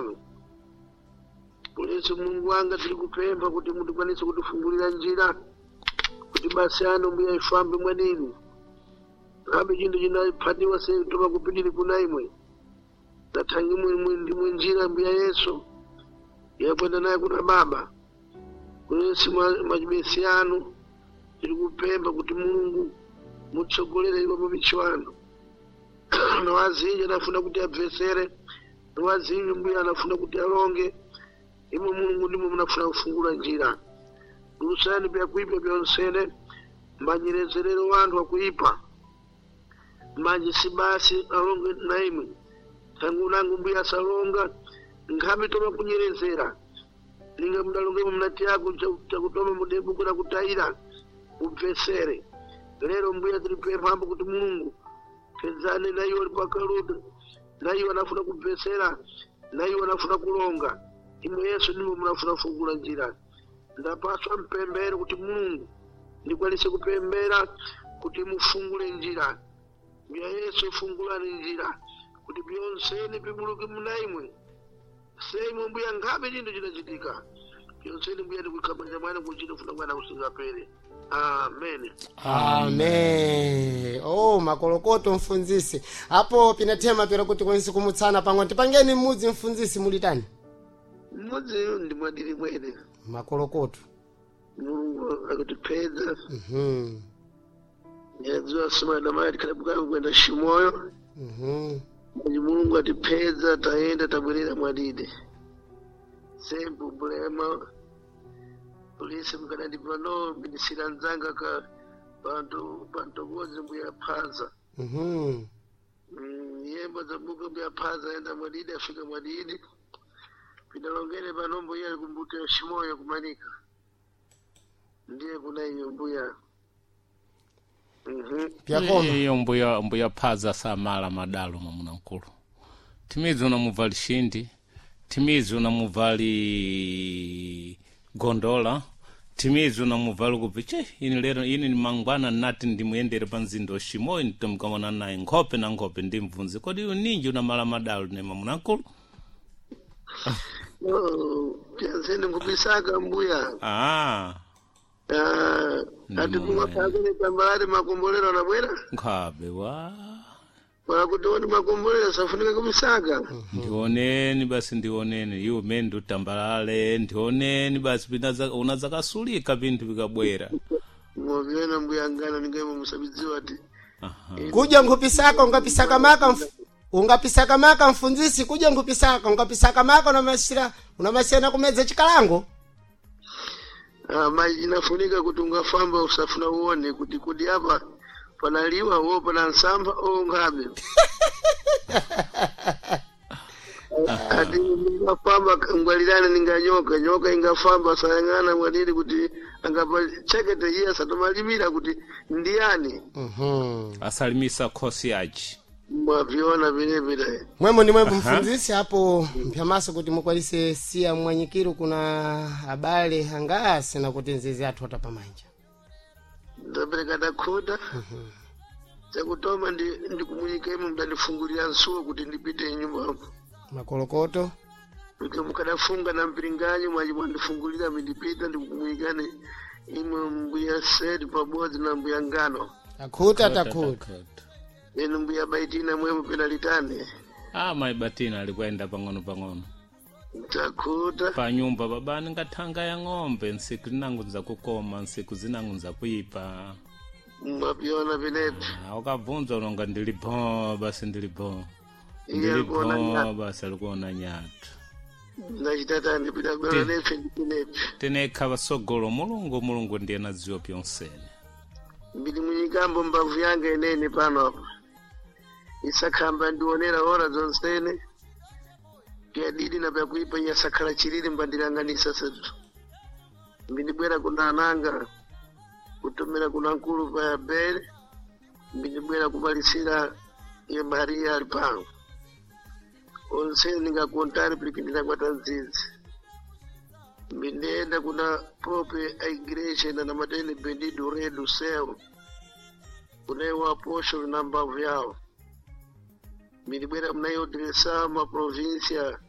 mwanu. Polisi Mulungu wanga tilikupempha kuti mutikwanise kutifungulira njira kuti basi anu mbuya ifambe mwadini ngabe chinthu chinaphatiwa se toma kupitiri kuna imwe nathangi ndimwe njira mbuya Yesu yakwenda naye kuna baba kulesi machibesi anu tilikupempha kuti Mulungu mutsogolere iwo mabichi wanu nowazinji anafuna kuti abvesere nowazinji mbuya anafuna kuti alonge imwe Mulungu ndimwe munafuna kufungula njira lusani byakuipa byonsene mbanyerezerero wanthu akuipa manje si basi alonge na imwe thangu nangu mbuya asalonga nkhabe toma kunyerezera ninga mudalongemo mnati yako chakutoma mudebukira kutayira ubvesere lero mbuya tilipemphambo kuti Mulungu pedzane na iwo pakaluda na iwo anafuna kubvesera na iwo anafuna kulonga imwe Yesu ndimo munafuna kufungula njira ndapaswa mpembere kuti Mulungu ndikwanise kupembera kuti mufungule njira mbuya Yesu fungulani njira kuti byonseni bibuluke muna imwe seimwe mbuya ngabe chinthu chinachitika byonseni mbuya ndikukhamanja mwana kuchita funa mwana kusingapere. Amen. Amen. Oh, makolokoto mfunzisi apo pinathema pera kuti kwensi kumutsana pang'ono tipangeni mmudzi mfunzisi mulitani mmudzi ndi mwadiri mwene makolokoto. Mulungu akutipedza Mhm. yadziwa simana mayi tikhalabukayo kwenda Shimoyo. Mwenye Mulungu atipedza tayenda tabwerera mwadide sempu bulema polisi mkanandipano minisira nzanga ka pantu pantokozi mbuya phaza. Yembo zabuka mbuya phaza enda mwadidi afika mwadidi pinalongere pano mbuya alikumbuka Shimoyo kumanika ndiye kuna iyo mbuya. Pyakoma. Iyo mbuya mbuya phaza samala madalo mwamuna mkulu timidzi unamubvali shindi timidzi unamubvali gondola timidzi unamubvali kupi che ini lero ini ni mangwana nati ndimuyendere pa mzinda wa Shimoyo nditomkamona naye nkhope na nkhope ndimvunze kodi iwe ninji unamala madalo ne mwamuna mkulu. Oh, pyanzeni nkubisaka mbuya. Ah. Ah, ati kumapakele tambalale makombolero anabwera nkhabe wa wakuti oni makombolero safunika kubisaka. Ndioneni basi ndioneni iwe mene ndiutambalale ndioneni basi unazakasulika pinthu vikabwera. Mwavyona mbuya ngano ningaimo musabidziwa ati Aha. Kudya nkhupisaka ungapisaka maka ungapisaka maka mfunzisi kudya nkhupisaka ungapisaka maka unamasira unamasiyana kumedza chikalango. Ah, maji inafunika kuti ungafamba usafuna uone kuti kuti apa panaliwa wo pana nsamba o ngabe ati ungafamba ngwalirana ninga nyoka nyoka ingafamba sayang'ana mwadiri kuti angapa chekete iye asatomalimira kuti ndiyani. Mhm. Asalimisa khosi yaci Mwaviona vilevile. Mwemo ni mwembo mfunzisi apo mpyamaso kuti mukwanise siya mwanyikiro kuna abale angase na kuti nzizi athu atapamanja. Ndapereka ndakhuta chakutoma ndikumunyika imwe mudandifungulira nsuwo kuti ndipite nyumbamo. Makolokoto. Kuti mukadafunga na mpiringanyo mwaji mwandifungulira mindipita ndikumunyikani imwe mbuya sedi pabodzi na mbuya ngano Takhuta takhuta. enu mbuya baitina mwemwe penalitani. Ah, mayi batina alikuenda pang'ono pang'ono Takhuta. pa nyumba babani ngathanga ya ng'ombe ntsiku zinango nzakukoma ntsiku zinango nzakuipa. Mwaviona vinepi. Ah, ukabvunza unonga ndili bo basi ndili bo Iye ndili alikuona bo nyatu. basi alikuona nyatu. Ndachitata ndipita bwera nefe ndipinepi. Tinekha vasogolo Mulungu Mulungu ndiye nadziwa pyonsene. Mbili munyikambo mbavu yanga inene pano apa isakhamba ndionera ora zonsene pyadidi na pyakuipa nyasakhala chilili mbandilanganisa setu mbindibwera kuna ananga kutomera kuna nkulu pa bele mbindibwera kumalisira ye Maria ali pano onsene ningakontari pilikindira kwata nzizi mbindiyenda kuna prope a igreja ina na matene bendido rei do céu kunewa apóstolo na mbavu yawo milibwera mnayo direção ma província